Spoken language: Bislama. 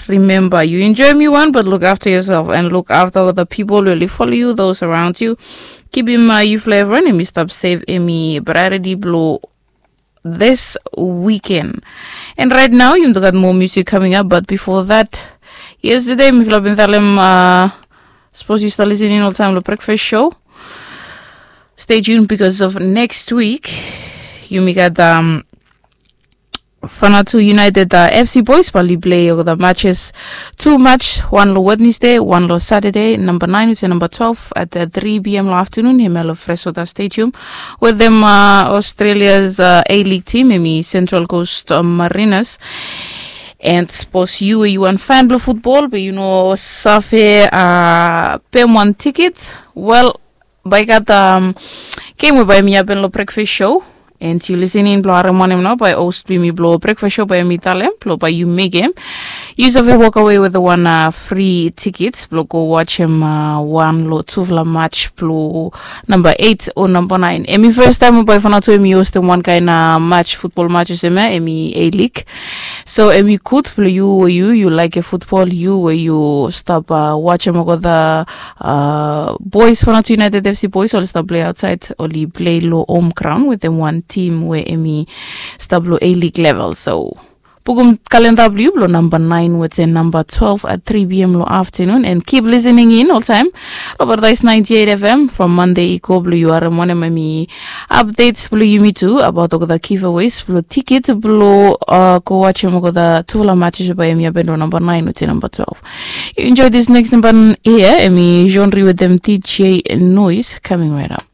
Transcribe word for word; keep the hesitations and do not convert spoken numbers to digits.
Remember, you enjoy me one, but look after yourself and look after the people really follow you, those around you. Kipim uh, you flavor and mi stop save emi priority blow this weekend. And right now, you got more music coming up, but before that, yesterday, mi feel been telling uh, suppose you start listening all time the breakfast show. Stay tuned because of next week. You may get um, Fanatu United uh, F C Boys bali play the matches two match, one lo Wednesday, one lo Saturday, number nine to number twelve at the three p.m. lo afternoon, him lo Fresota Stadium with them uh, Australia's uh, A-League team, emi Central Coast uh, Mariners. And suppose you you want fan blo football, but you know safe uh, pem one ticket. Well, by got um, game we by mi happen lo breakfast show. And you listening blo harem wanem nao by host bimi blo breakfast show by mi talem blo by you make him. You save walk away with the one uh, free tickets blo go watch him uh, one lo tufla match blo number eight or number nine. Emi first time by Fanatu emi host them one kind uh, match football matches emi emi A-League. So emi good blo you or you you like a football you or you stop uh, watch him go the uh, boys Fanatu United F C boys oli stop play outside oli play lo home ground with them one team where emi stop lo A-League level. So pukum kalenda blo you blo number nine with the number twelve at three p.m. lo afternoon and keep listening in all time. Lo Paradise ninety-eight F M from Monday i go blo you are one emi updates blo you me too about the giveaways blo ticket blo uh, go watch him go the tufla matches by emi happen lo number nine with the number twelve. You enjoy this next number here emi genre with them D J noise coming right up.